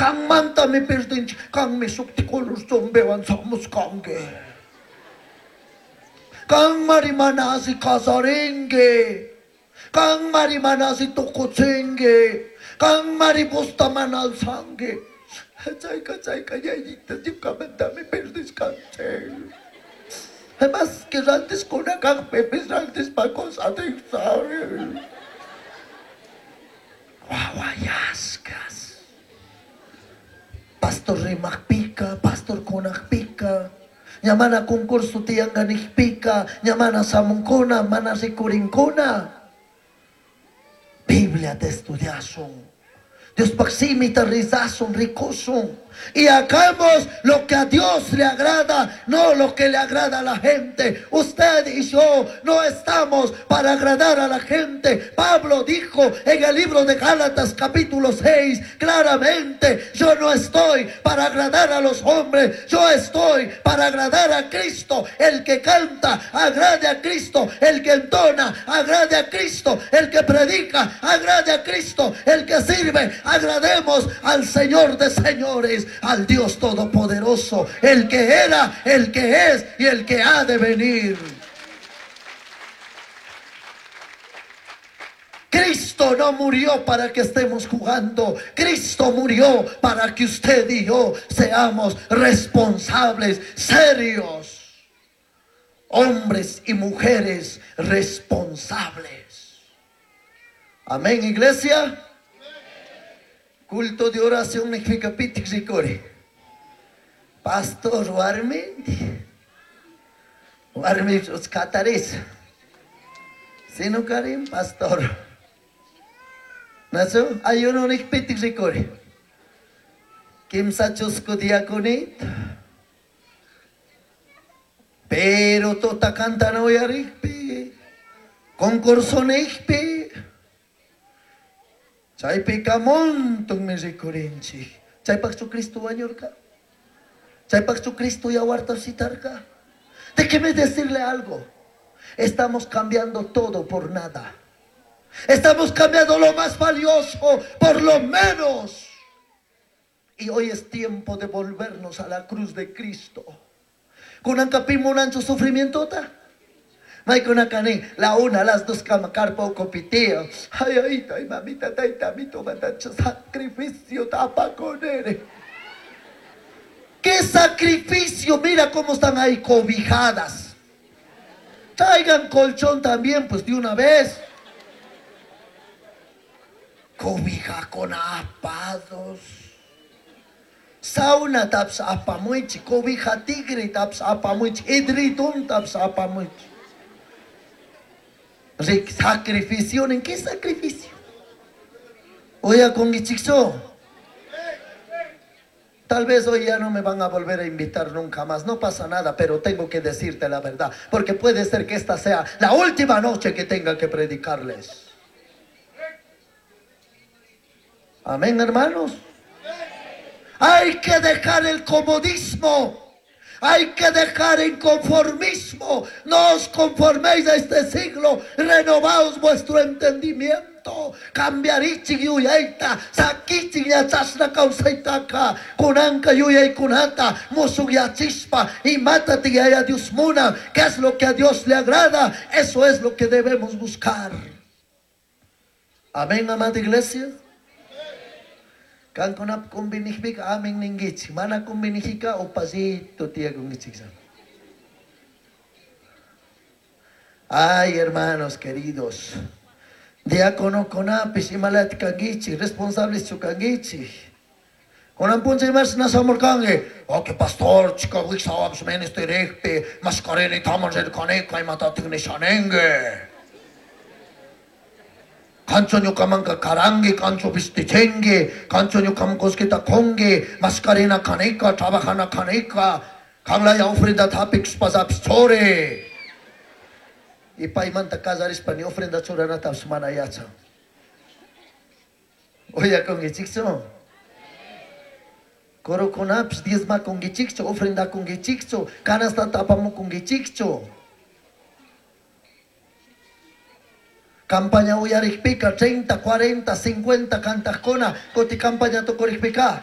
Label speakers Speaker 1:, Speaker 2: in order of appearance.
Speaker 1: Kanmantami perdinchik, kanmi shukti color chombewan shamushkanki. Kanmari mana alli casarinki. Kanmari mana alli tukuchinki. Kanmari vosta mana alzanki. Chayka chayka yayita ñukamantami perdishkanchik. Además que rantishkuna kakpipis rantishpa satisfari. Wawayashkas. Pastor rimajpika, pastor kunajpika, ña mana concurso tiyanka nijpika, ña mana shamunkuna, mana rikurinkuna. Bibliata estudiashun. Diospaj shimita rezashun, rikushun. Y hagamos lo que a Dios le agrada, no lo que le agrada a la gente. Usted y yo no estamos para agradar a la gente. Pablo dijo en el libro de Gálatas capítulo 6 claramente, yo no estoy para agradar a los hombres, yo estoy para agradar a Cristo. El que canta, agrade a Cristo. El que entona, agrade a Cristo. El que predica, agrade a Cristo. El que sirve, agrademos al Señor de señores, al Dios Todopoderoso, el que era, el que es y el que ha de venir. Cristo no murió para que estemos jugando. Cristo murió para que usted y yo seamos responsables, serios. Hombres y mujeres responsables. Amén, iglesia. Culto de oración significa pitik rikuri. Pastor warmi. Warmi kataris. Sino karim pastor. Nasu ayuno nik pitik rikuri. Kimsa chusku diakonit. Pero tota cantana uyarikpi. Concurso nikpi. Chaypika montonmi rikurinchik. Chaypaqchu Cristo wañurka. Chaypaqchu Cristo yawarta shitarka. Déjeme decirle algo. Estamos cambiando todo por nada. Estamos cambiando lo más valioso por lo menos. Y hoy es tiempo de volvernos a la cruz de Cristo. Kunanka pi munanchu sufrimientota. Maykunaka la una, las dos kama carpa ukupitio. Ay, ay, ay, mamita, tayta, mito, sacrificio tapa con él. ¿Qué sacrificio? Mira cómo están ahí cobijadas. Traigan colchón también, pues de una vez. Cobija con apados. Sauna taps apamuichi, cobija tigre taps apamuichi, edredón taps apamuichi. Sacrificio, ¿en qué sacrificio? Oye, con Tal vez hoy ya no me van a volver a invitar nunca más. No pasa nada, pero tengo que decirte la verdad. Porque puede ser que esta sea la última noche que tenga que predicarles. Amén, hermanos. Hay que dejar el comodismo. Hay que dejar el conformismo. No os conforméis a este siglo. Renovaos vuestro entendimiento. Cambiarichik yuyayta, sakichik yachashna kawsaytaka, kunanka yuyaykunata, mushukyachishpa, imata yaya Dios muna, ¿qué es lo que a Dios le agrada? Eso es lo que debemos buscar. Amén, amada iglesia. Kankunap kumbinijpika amen ninkichik, mana kumbinijika upallito tiyakunkichik. Ay, hermanos queridos. Diácono kunapish imalati kankichik, responsables kankichik. Kunan puncha imash nasamurkanki. Oh, que pastor, chica, wiksawapish ministerijpi, mashkarini taman rirkanika imatatik nishaninki. Kancho ñukamanka karanki, kancho vistichinki, kancho ñukaman kullkita kunki, mashkarina kanika, trabajana kanika, kanlaya ofrenda hapikshpasapish churi. Y paymanta kasarishpa ni ofrenda churanatapish mana yachan. Uyakunkichikchu? Kurukunapish diezmakunkichikchu, ofrendakunkichikchu, canastata apamukunkichikchu. Campaña uyarikpika 30, 40, 50 kantajkuna, kuti campaña tukurikpika.